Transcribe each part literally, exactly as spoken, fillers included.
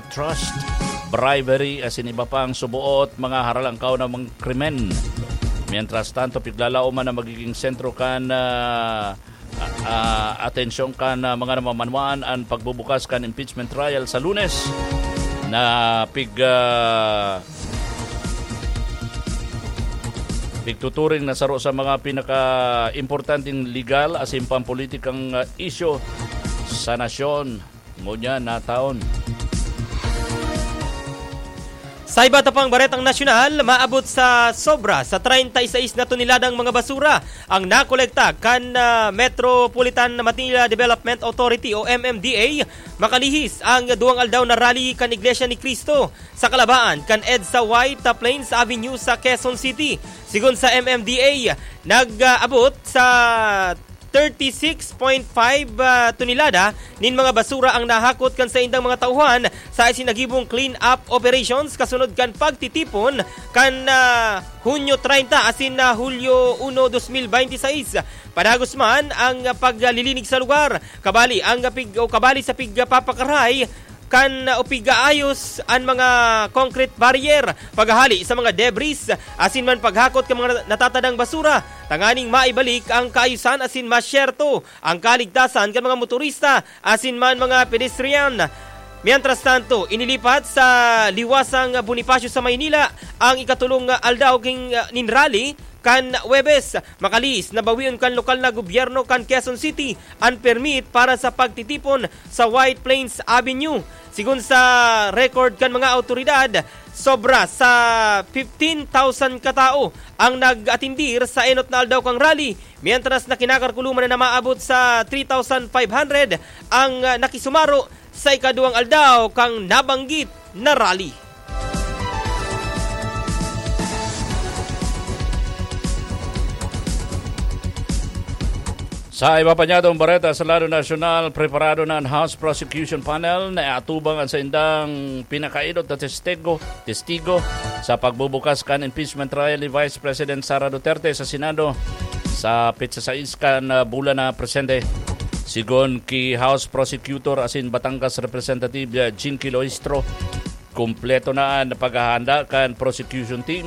trust, bribery, asin iba pang suboot mga haralangkaw na mga krimen. Mientras tanto, piglalaoman na magiging sentro kan, ah, ah, atensyon kan, ah, mga namamanwaan an pagbubukas kan impeachment trial sa Lunes na pig, ah, pigtuturing na saro sa mga pinaka-importanteng legal asin pampolitikang, ah, isyu sa nasyon ngunyan na taon. Sa iba ta pang baretang nasyonal, maabot sa sobra sa treinta y seis na toneladang mga basura ang nakolekta kan, ah, Metropolitan Manila Development Authority o M M D A makalihis ang duwang aldaw na rally kan Iglesia ni Cristo sa kalabaan kan EDSA White Plains Avenue sa Quezon City. Sigon sa M M D A, nag-abot sa thirty-six point five, ah, tonelada nin mga basura ang nahakot kan saindang mga tauhan sa isinagibong clean-up operations kasunod kan pagtitipon kan, ah, Hunyo treinta asin na Hulyo uno, dos mil bente seis. Padagos man ang paglilinig sa lugar, kabali ang pig-, o kabali sa pigpapakaray kan o pig-aayos an mga concrete barrier, paghahali sa mga debris, asin man paghakot kan mga natatadang basura, tanganing maibalik ang kaayusan asin masyerto ang kaligtasan kan mga motorista asin man mga pedestrian. Mientras tanto, inilipat sa liwasang Bonifacio sa Maynila ang ikatulong aldaw king, nin rally kan Huwebes. Makalihis na bawion kan lokal na gobyerno kan Quezon City an permit para sa pagtitipon sa White Plains Avenue. Sigon sa record kan mga awtoridad, sobra sa fifteen thousand katao ang nag-atindir sa enot na aldaw kan rally, mientras na kinakalkuloman na maabot sa three thousand five hundred ang, ah, nakisumaro sa ikaduwang aldaw kan nabanggit na rally. Sa iba pa niyadong bareta sa lado nasyonal, preparado na an House Prosecution Panel na iatubang an saindang pinakaenot na testigo, testigo sa pagbubukas kan impeachment trial ni Vice President Sara Duterte sa Senado sa petsa sais kan, ah, bulan na presente. Sigon ki House Prosecutor asin Batangas Representative, ah, Jinky Loistro, kompleto na an paghahanda kan prosecution team,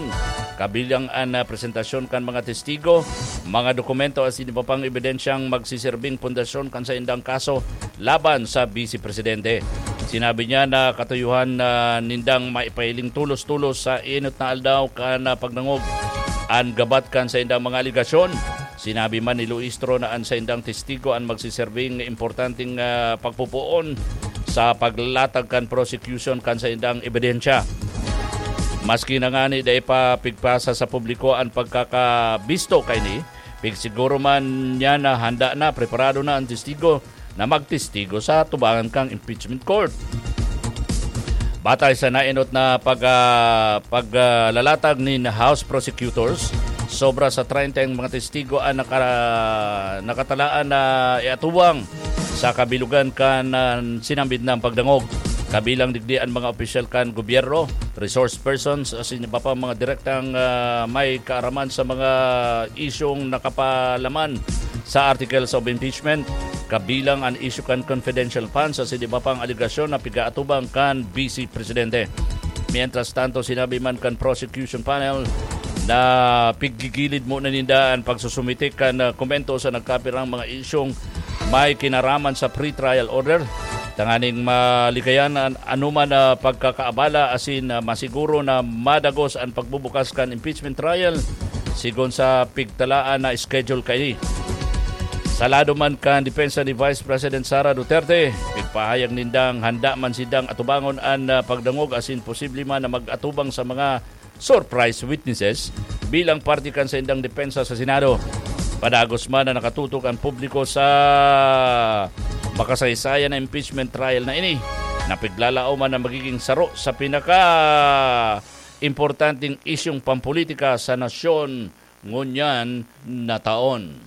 kabilang an, ah, presentasyon kan mga testigo, mga dokumento asin iba pang ebidensyang magsiserbing pundasyon kan saindang kaso laban sa Vice Presidente. Sinabi niya na katuyuhan na nindang maipahiling tolos-tolos sa enot na aldaw kan, ah, pagdangog an gabat kan saindang mga alegasyon. Sinabi man ni Loistro na an saindang testigo an magsiserbing importanteng, ah, pagpupoon sa paglalatag kan prosecution kan saindang ebidensya. Maski na ngani dai pa pigpasa sa publiko an pagkakabisto kaini, pigsiguro man niya na handa na, preparado na an testigo na magtestigo sa tubangan kan impeachment court. Batay sa naenot na pag, ah, pag, ah, lalatag nin House Prosecutors, sobra sa treinta ang mga testigo ang naka-, nakatalaan na iatubang sa kabilugan kan, ah, sinambit na pagdangog. Kabilang digdi an mga opisyal kan gobyerno, resource persons, asin iba pa mga direktang, ah, may kaaraman sa mga isyong nakapalaman sa articles of impeachment, kabilang an issue kan confidential funds asin iba pang alegasyon na pigaatubang kan Vice Presidente. Mientras tanto, sinabi man kan prosecution panel na piggigilid muna ninda an pagsusumite kan, ah, komento sa nagkapirang mga isyong may kinaraman sa pretrial order, tanganing malikayan an anoman na pagkakaabala asin, ah, masiguro na madagos an pagbubukas kan impeachment trial sigon sa pigtalaan na schedule kaini. Sa lado man kan depensa ni Vice President Sara Duterte, pigpahayag nindang handa man sindang atubangon an, ah, pagdangog asin posible man na mag-atubang sa mga surprise witnesses bilang parte kan saindang depensa sa Senado. Padagos man na nakatutok ang publiko sa makasaysayan na impeachment trial na ini, na piglalaoman na magiging saro sa pinaka-importanteng isyung pampolitika sa nasyon ngunyan na taon.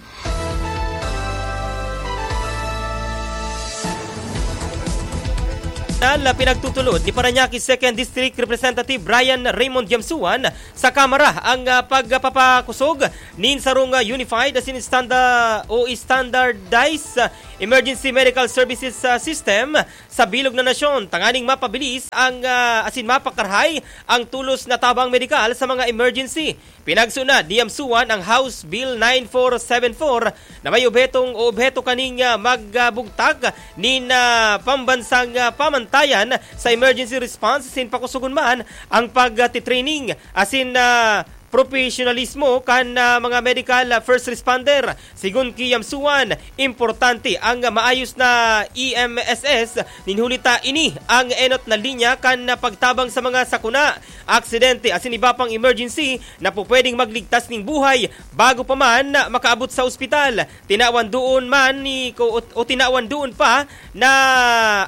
Nal, pinagtutulod ni Parañaque Second District Representative Ryan Raymond Yamsuan sa Kamara ang, ah, pagpapakusog nin sarong, ah, unified asin standa-, o standardized, ah, emergency medical services, ah, system sa bilog na nasyon, tanganing mapabilis ang, ah, asin mapakarahay ang tulos na tabang medikal sa mga emergency. Pinagso na, diyamsuan ang House Bill nine four seven four na may obhetong o obheto kaning, ah, magbugtak nin, ah, pambansang, ah, pamantayan sa emergency response sin pakusugon man ang pagtitraining asin, ah, profesionalismo kan, ah, mga medical, ah, first responder. Sigon ki Yamsuan, importante ang maayos na E M S S, nin huli ta ini ang enot na linya kan pagtabang sa mga sakuna, aksidente asin iba pang emergency na pupwedeng magligtas ning buhay bago pa man makaabot sa ospital. Tinawan doon man ni ko, o, o tinawan doon pa na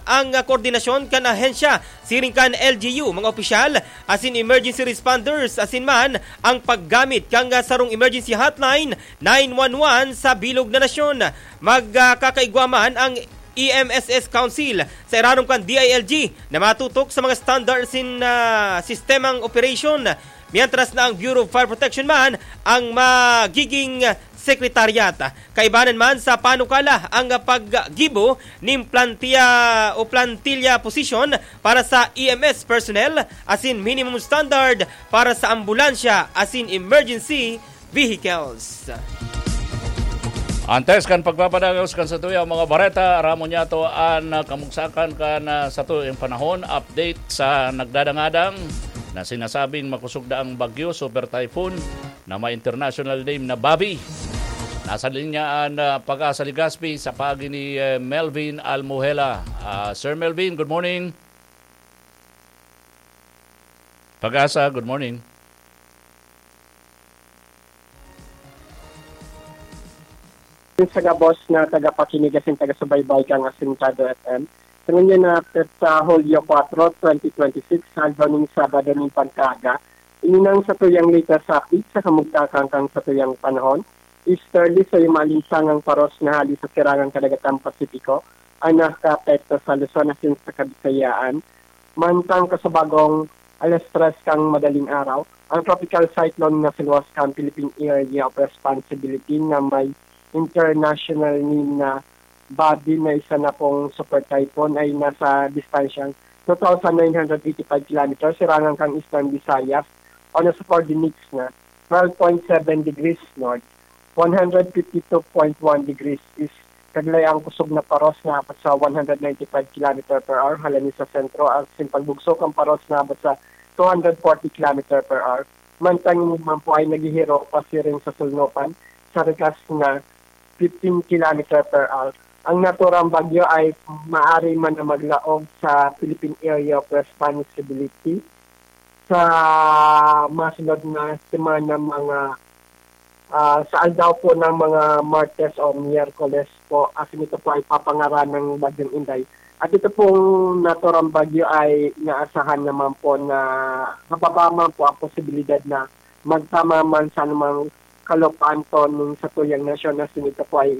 ang koordinasyon kan ahensya siring kan L G U, mga opisyal asin emergency responders asin man ang paggamit kan sarong emergency hotline nine one one sa bilog na nasyon. Magkakaigwa man ang E M S S Council sa irarom kan D I L G na matutok sa mga standard sin, ah, sistemang operation, mientras na ang Bureau of Fire Protection man ang magiging sekretariat. Kaibanan man sa panukala ang paggibo nin plantiya o plantilya posisyon para sa E M S personnel asin minimum standard para sa ambulansya asin emergency vehicles. Antes kan pagpapadagos kan satuyang mga bareta, aramon niyato an, ah, kamugsakan kan, ah, satuyang panahon. Update sa nagdadangadang na sinasabing makosog na ang bagyo, super typhoon, na may international name na Bobby. Nasa linya an, ah, Pag-asa Legazpi sa paagi ni, eh, Melvin Almuhela. Ah, Sir Melvin, good morning. Pag-asa, good morning. Sa gabos na tagapakinig asin taga-subaybay kan Asintado F M. Sa ngunyan na petsa, Hulyo kuwatro, twenty twenty-six, aldaw ning Sabado nin pagkaaga, ini nang satuyang latest update sa kamugtakan kan satuyang panahon. Easterly sa maalinsangang paros na hali sa sirangang kadagatan Pasipiko ang nakakaapekto sa Luzon asin sa Kabisayaan. Mantang kasabagong alas tres kan madaling araw, ang tropical cyclone na sinuwas kan Philippine Area of Responsibility na may international name na Bobby na isa na pong super typhoon ay nasa distansyang two thousand nine hundred eighty-five kilometers sirangan kan Eastern Visayas o nasa coordinates na twelve point seven degrees north, one hundred fifty-two point one degrees east. Kaglay ang kusog na paros na abot sa one hundred ninety-five kilometer per hour halani sa sentro, at sin pagbugso kan paros na abot sa two hundred forty kilometer per hour. Mantang ini man po ay naghihiro pasiring sa sulnopan sa rikas na fifteen kilometer per hour. Ang naturang bagyo ay maari man na maglaog sa Philippine Area of Responsibility sa masunod na semana, mga, ah, sa aldaw po ng mga Martes o Miyerkules po, asin ito po ay papangaran ng Bagyong Inday. At ito pong naturang bagyo ay inaasahan naman po na mababa man po ang posibilidad na magtama man sa anumang kalupaan po ng satuyang nasyon, asin ito po ay,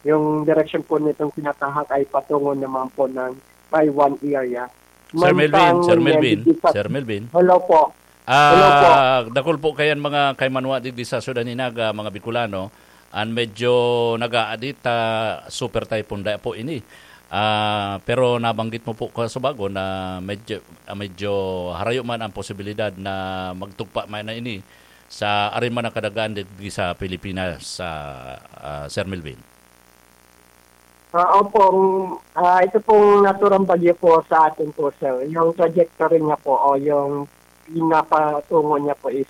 yung direksyon po nitong tinatahak ay patungo naman po ng Taiwan area. Sir Melvin, Mantang Sir Melvin, nandito sa Sir Melvin. Hello po. Hello po. Ah, dakul po kayan mga kaimanwa digdi sa Ciudad Hinaga, mga Bicolano, an medyo nag-aadit ta super typhoon da po ini. Ah, pero nabanggit mo po kasubago na medyo, ah, medyo harayo man ang posibilidad na magtugpa man na ini sa arin man ang kadagaan digdi sa Pilipinas, sa, ah, Sir Melvin. Ah, opo, mm, ah, ito pong naturang bagyo po sa atin po, sir, yung trajectory niya po o yung pinapatungo niya po is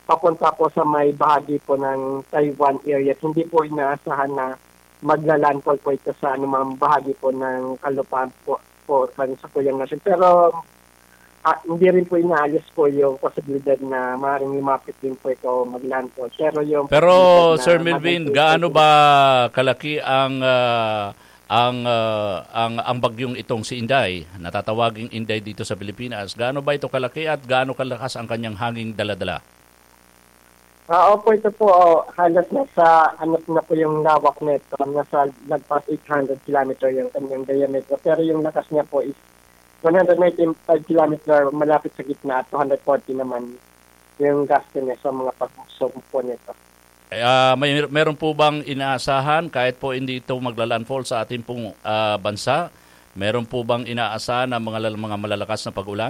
papunta po sa may bahagi po ng Taiwan area. Hindi po inaasahan na magla-landfall po ito sa anumang bahagi po ng kalupaan po, po ng satuyang nasyon. Pero, ah, hindi rin po inaalis po yung posibilidad na maaaring lumapit din po ito o mag-landfall. Pero yung Pero, posibilidad Sir na Melvin, magiging gaano po ba kalaki ang, ah, ang, ah, ang, ang bagyong itong si Inday, natatawaging Inday dito sa Pilipinas? Gaano ba ito kalaki at gaano kalakas ang kanyang hanging daladala? Ah, opo, ito po, oh, halos nasa, ano na po yung lawak nito, nasa lagpas eight hundred kilometer yung kanyang diameter. Pero yung lakas niya po is one hundred ninety-five kilometer malapit sa gitna at two hundred forty naman yung gasto niya sa mga pagbugso po nito. Eh, ah, may, meron po bang inaasahan kahit po hindi ito magla-landfall sa ating pong, ah, bansa? Meron po bang inaasahan na mga lal-, mga malalakas na pag-ulan?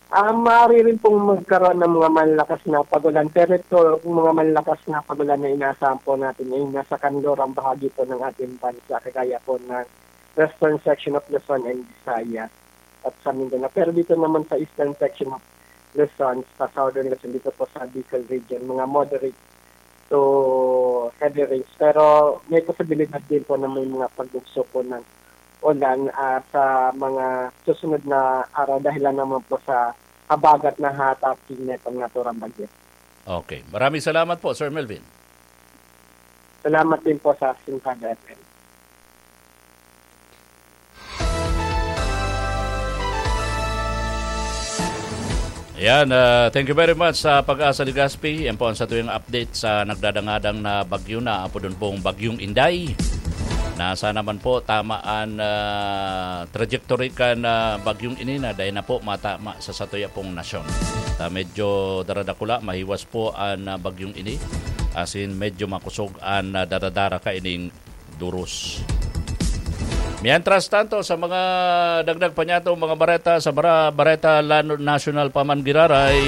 Ah, maaari rin pong magkaroon ng mga malakas na pag-ulan, pero ito, yung mga malakas na pag-ulan na inaasahan po natin ay nasa kanlurang bahagi po ng ating bansa, kagaya po ng western section of Luzon and Visayas at sa Mindanao. Pero dito naman sa eastern section of Luzon, sa southern Luzon, dito po sa Bicol region, mga moderate to heavy rains. Pero may posibilidad din po na may mga pagbugso po ng ulan, ah, sa mga susunod na araw, dahilan naman po sa habagat na hahatapin nitong naturang bagyo. Okay. Maraming salamat po, Sir Melvin. Salamat din po sa Sinsada F M. Ayan, ah, thank you very much sa Pag-asa Legazpi. Yan po ang satuyang update sa nagdadangadang na bagyo na apodon pong Bagyong Inday. Nasa naman po tama an, ah, trajectory kan, ah, bagyong ini na dai na po matama sa satuya pong nasyon. Ah, medyo daradakula, mahiwas po an, ah, bagyong ini. Asin medyo makosog an, ah, daradara kaining duros. Mientras tanto, sa mga dagdag pa niyato, mga bareta, sa Bara-, Bareta Lano-, National pa man giraray,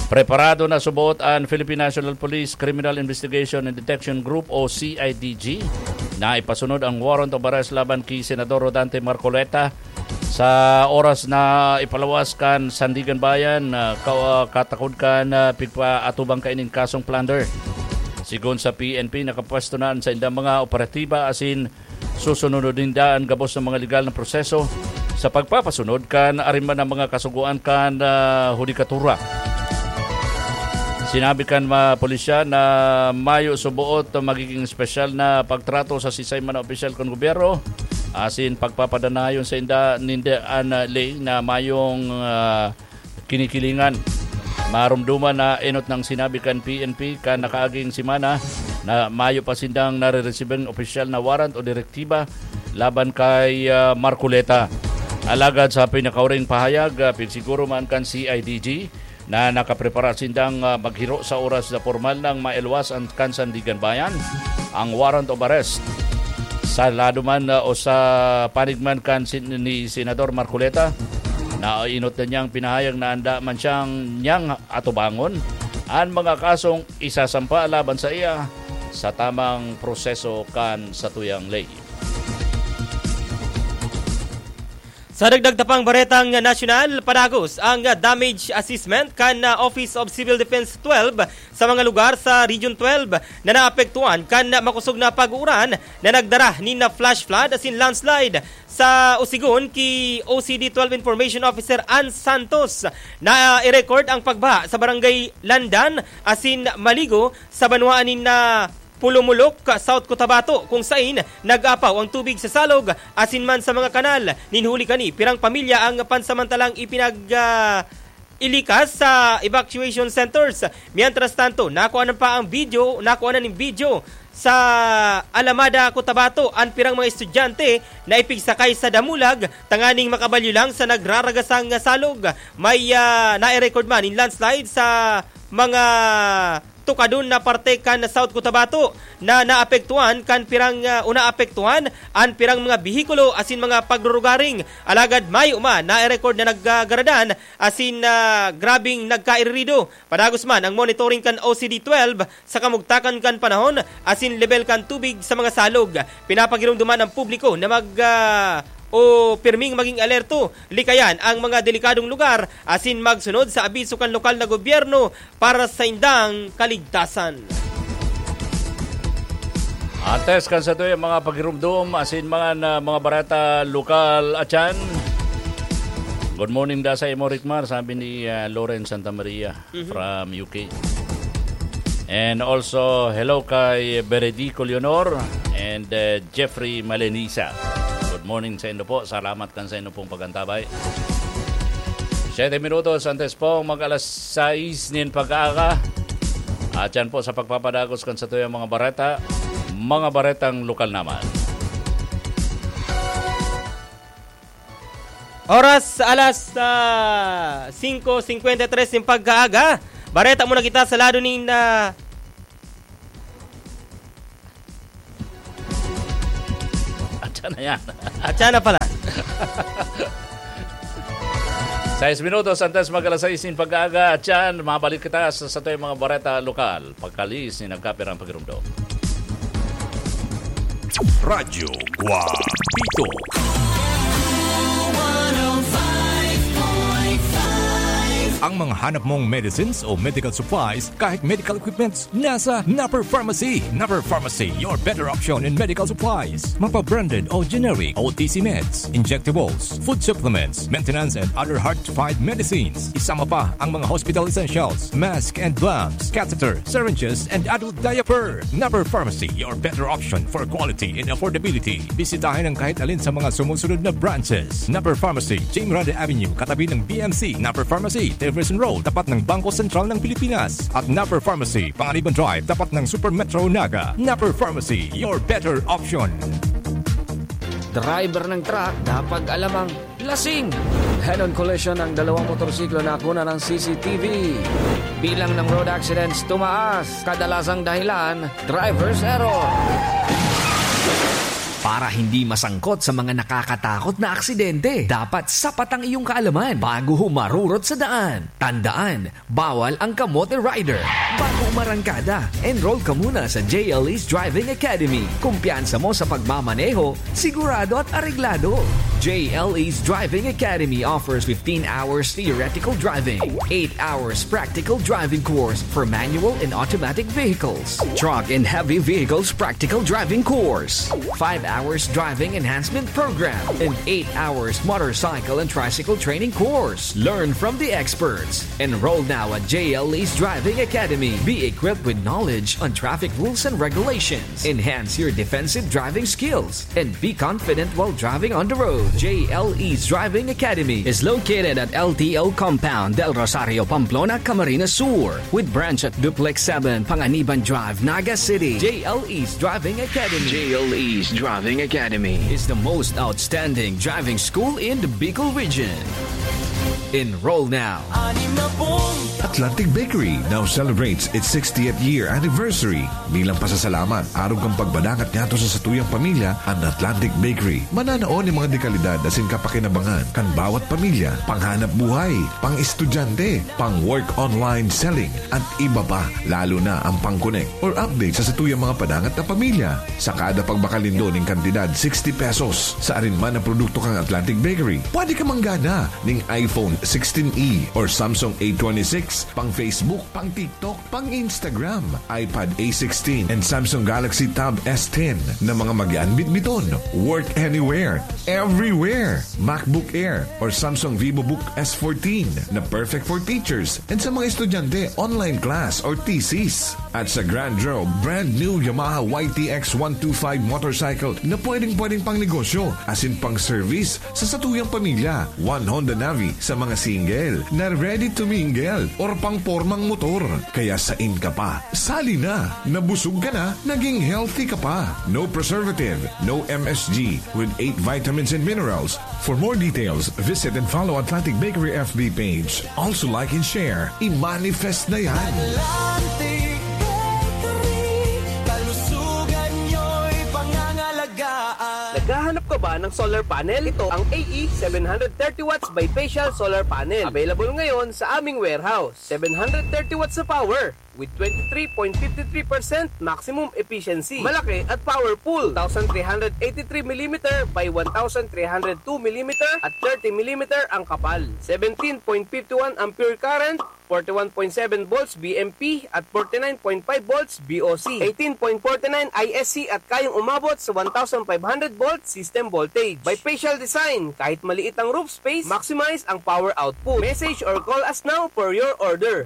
preparado na subot an Philippine National Police Criminal Investigation and Detection Group o C I D G na ipasunod ang warrant of arrest laban ki Senador Rodante Marcoleta sa oras na ipalawas kan Sandiganbayan, ah, ka-, ah, katakod kan, ah, pigpaatubang kaining kasong plunder. Sigon sa P N P, nakapwesto na an saindang mga operatiba asin susunodon ninda an gabos na mga legal na proseso sa pagpapasunod kan ariman na mga kasugoan kan, ah, hudikatura. Sinabi kan mga pulisya na mayo suboot magiging espesyal na pagtrato sa sisay man na opisyal kan gobyerno, asin pagpapadanayon sa inda, ninda an, ah, ley na mayong, ah, kinikilingan. Marumduman na enot nang sinabi kan P N P kan nakaaging semana na mayo pa sindang nareresibing opisyal na warrant o direktiba laban kay, ah, Marcoleta. Alagad sa pinakauring pahayag, ah, pigsiguro man kan C I D G na nakaprepara sindang, ah, maghiro sa oras na pormal nang mailwas an kan Sandiganbayan ang warrant of arrest. Sa lado man, ah, o sa panig man kan sin-, ni Senador Marcoleta, nainot na niyang pinahayag na anda man siyang niyang atubangon an mga kasong isasampa laban sa iya sa tamang proseso kan satuyang ley. Sa dagdag ta pang baretang nasyonal, padagos ang damage assessment kan Office of Civil Defense twelve sa mga lugar sa Region twelve na naapektuhan kan makosog na pag-uuran na nagdara nin flash flood asin landslide. Sa Osigon, ki O C D twelve Information Officer Ann Santos, na i-record ang pagbaha sa Barangay Landan asin Maligo sa banwaan nin, ah, Pulumulok, South Cotabato, kung sain nag-apaw ang tubig sa salog asin man sa mga kanal. Nin huli kani, pirang pamilya ang pansamantalang ipinag, ah, ilikas sa evacuation centers. Mientras tanto, nakuha na pa ang video, nakuha na ning video sa Alamada, Cotabato, ang pirang mga estudyante na ipigsakay sa damulag tanganing makabalyo lang sa nagraragasang salog. May, ah, nai-record man in landslide sa mga tukadon na parte kan South Cotabato na naapektuhan kan pirang, ah, o naapektuhan an pirang mga behikulo asin mga pagrurugaring. Alagad mayo man na-record na naggagaradan asin, ah, grabing nagkairirido. Padagos man ang monitoring kan O C D twelve sa kamugtakan kan panahon asin lebel kan tubig sa mga salog. Pinapagiromdoman ang publiko na mag, ah, o pirming maging alerto, likayan ang mga delikadong lugar asin magsunod sa abiso kan lokal na gobyerno para sa indang kaligtasan. Antes kan satuyang mga pagirumdom asin mga na, mga bareta lokal, atyan. Good morning da sa imo, Rickmar, sabi ni, ah, Lauren Santa Maria Mhm. from U K. And also, hello kay Beredico Leonor and, eh, Jeffrey Malenisa. Good morning sa indo po. Salamat kan sa indo pong pag-antabay. Siyete minutos antes pong mag-alas sais nin pag-aaga. At yan po sa pagpapadagos kan satuyang mga bareta, mga baretang lokal naman. Oras alas, ah, singko singkwenta y tres nin pag-aaga. Bareta muna kita sa lado nin, ah, Ano yan? At yan na pala. Sais minutos antes mag alas sais nin pag-aaga. At yan, mabalik kita sa, sa tuyang mga bareta lokal. Pagkalis ni nagkapirang pagirumdom. Radyo Guapito. Ang mga hanap mong medicines o medical supplies, kahit medical equipments, nasa Napper Pharmacy. Napper Pharmacy, your better option in medical supplies. Mapa-branded o generic, O T C meds, injectables, food supplements, maintenance and other hard-to-find medicines. Isama pa ang mga hospital essentials, mask and gloves, catheter, syringes, and adult diaper. Napper Pharmacy, your better option for quality and affordability. Bisitahin ang kahit alin sa mga sumusunod na branches. Napper Pharmacy, Jim Rada Avenue, katabi ng B M C. Napper Pharmacy, Jefferson Road, tapat ng Bangko Sentral ng Pilipinas. At Napper Pharmacy, Panganiban Drive, tapat ng Super Metro Naga. Napper Pharmacy, your better option. Driver ng truck, dapat alam ang lasing. Head-on collision ng dalawang motorsiklo na nakuna ng C C T V. Bilang ng road accidents tumaas. Kadalasang dahilan, driver's error. Para hindi masangkot sa mga nakakatakot na aksidente, dapat sapat ang iyong kaalaman bago humarurot sa daan. Tandaan, bawal ang kamote rider. Bago umarangkada, enroll ka muna sa J L E's Driving Academy. Kumpiyansa mo sa pagmamaneho, sigurado at areglado. J L E's Driving Academy offers fifteen hours theoretical driving, eight hours practical driving course for manual and automatic vehicles, truck and heavy vehicles practical driving course, five hours driving enhancement program, and eight hours motorcycle and tricycle training course. Learn from the experts. Enroll now at J L E's Driving Academy. Be equipped with knowledge on traffic rules and regulations. Enhance your defensive driving skills and be confident while driving on the road. J L E's Driving Academy is located at L T O Compound, Del Rosario, Pamplona, Camarines Sur, with branch at Duplex seven, Panganiban Drive, Naga City. J L E's Driving Academy. J L E's Driving Academy is the most outstanding driving school in the Bicol region. Enroll now. Atlantic Bakery now celebrates its sixtieth year anniversary. Bilang pasasalamat, arog kan pagbadangat ngadto sa satuyang pamilya, an Atlantic Bakery mananao nin mga dekalidad asin kapakinabangan kan bawat pamilya, panghanap buhay, pang-estudyante, pang-work online selling, at iba pa, lalo na ang pang-connect or update sa satuyang mga padangat na pamilya. Sa kada pagbakal nindo nin kantidad sixty pesos sa arin man na produkto kan Atlantic Bakery, pwede ka manggana nin iPhone sixteen E or Samsung A twenty-six, pang Facebook, pang TikTok, pang Instagram, iPad A sixteen, and Samsung Galaxy Tab S ten na mga magaan bitbiton, work anywhere, everywhere. MacBook Air or Samsung VivoBook S fourteen na perfect for teachers and sa mga estudyante, online class or thesis. At sa Grand Draw, brand new Yamaha Y T X one two five motorcycle na pwedeng-pwedeng pang negosyo, asin pang service sa satuyang pamilya. One Honda Navi sa mga single na ready to mingle or pang pormang motor. Kaya sain ka pa, sali na! Nabusog ka na, naging healthy ka pa. No preservative, no M S G, with eight vitamins and minerals. For more details, visit and follow Atlantic Bakery F B page. Also like and share. I-manifest na yan! Atlantic Bakery, kalusugan nyo'y pangangalagaan. Naghahanap ka ba ng solar panel? Ito ang A E seven hundred thirty watts bifacial solar panel. Available ngayon sa aming warehouse. Seven hundred thirty watts na power with twenty-three point fifty-three percent maximum efficiency. Malaki at powerful. Two thousand three hundred eighty-three millimeter by one thousand three hundred two millimeter at thirty millimeter ang kapal. Seventeen point fifty-one ampere current, forty-one point seven volts B M P at forty-nine point five volts B O C, eighteen point forty-nine I S C at kayang umabot sa one thousand five hundred volt system voltage. Bifacial design, kahit maliit ang roof space, maximize ang power output. Message or call us now for your order.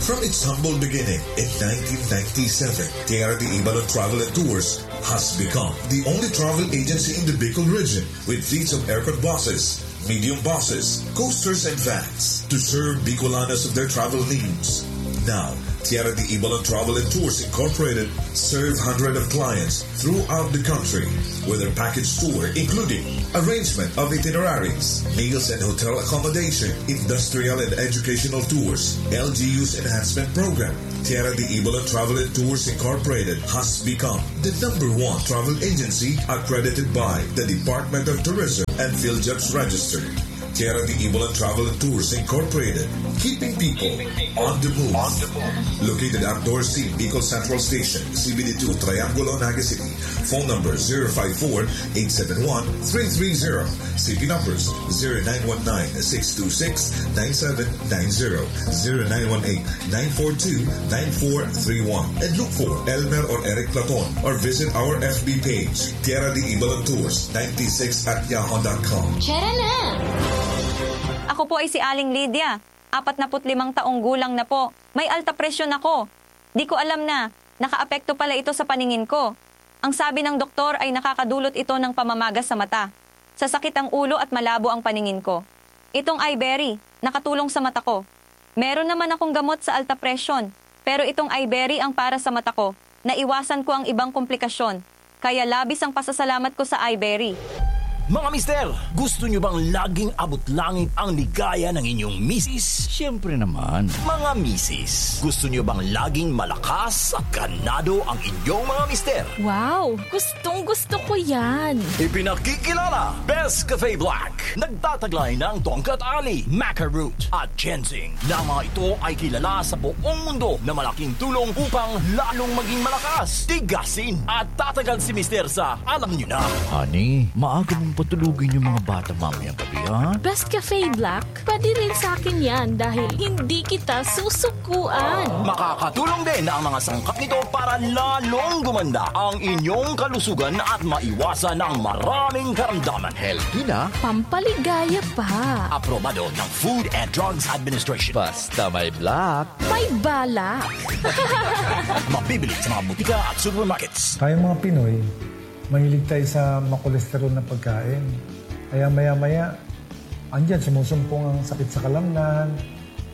From its humble beginning in nineteen ninety-seven, T R D Ibalon Travel and Tours has become the only travel agency in the Bicol region with fleets of aircon buses, medium buses, coasters, and vans to serve Bicolanos of their travel needs. Now, Tierra de Ibalan Travel and Tours Incorporated serve hundreds of clients throughout the country with their package tour, including arrangement of itineraries, meals and hotel accommodation, industrial and educational tours, L G U's enhancement program. Tierra de Ibalan Travel and Tours Incorporated has become the number one travel agency accredited by the Department of Tourism and PhilJobs Register. Tierra de Ibalan Travel and Tours Incorporated, keeping people on the move. Located at Dorothy Bicol Central Station, C B D two, Triangulo, Naga City. Phone number zero five four, eight seven one, three three zero. C P numbers zero nine one nine, six two six, nine seven nine zero, zero nine one eight, nine four two, nine four three one. And look for Elmer or Eric Platon or visit our F B page, Tierra de Ibalan Tours ninety-six at yahoo dot com. Tara na! Ako po ay si Aling Lydia. Apat na put limang taong gulang na po. May alta presyon ako. Di ko alam na nakaapekto pala ito sa paningin ko. Ang sabi ng doktor ay nakakadulot ito ng pamamaga sa mata, sasakit ang ulo at malabo ang paningin ko. Itong Iberry, nakatulong sa mata ko. Meron naman akong gamot sa alta presyon, pero itong Iberry ang para sa mata ko. Naiwasan ko ang ibang komplikasyon, kaya labis ang pasasalamat ko sa Iberry. Mga mister, gusto nyo bang laging abot langit ang ligaya ng inyong misis? Siyempre naman. Mga misis, gusto nyo bang laging malakas at ganado ang inyong mga mister? Wow! Gustong gusto ko yan! Ipinakikilala, Best Cafe Black. Nagtataglay ng tongkat ali, maca root, at ginseng, na mga ito ay kilala sa buong mundo na malaking tulong upang lalong maging malakas, tigasin, at tatagal si mister sa alam nyo na. Honey, maaga mong patulugin yung mga bata mamayang gabi, ha? Best Cafe Black, pwede rin sa akin yan dahil hindi kita susukuan. Makakatulong din ang mga sangkap nito para lalong gumanda ang inyong kalusugan at maiwasan ang maraming karamdaman. Healthy na. Pampaligaya pa. Aprobado ng Food and Drugs Administration. Basta may black. May balak. Mabibili sa mga butika at supermarkets. Tayong mga Pinoy, mahilig tayo sa makolesterol na pagkain. Kaya maya-maya, andyan, sumusumpong ang sakit sa kalamnan,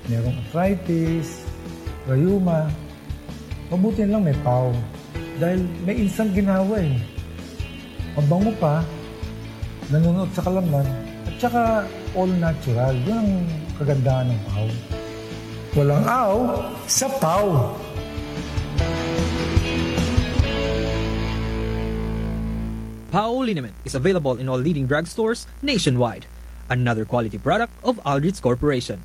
merong arthritis, rayuma. Mabuti na lang may pau. Dahil may insang ginawa eh. Mabango pa, nanunuot sa kalamnan, at saka all natural. Yun ang kagandahan ng pau. Walang aw sa pau. Pau liniment is available in all leading drugstores nationwide. Another quality product of Aldrich Corporation.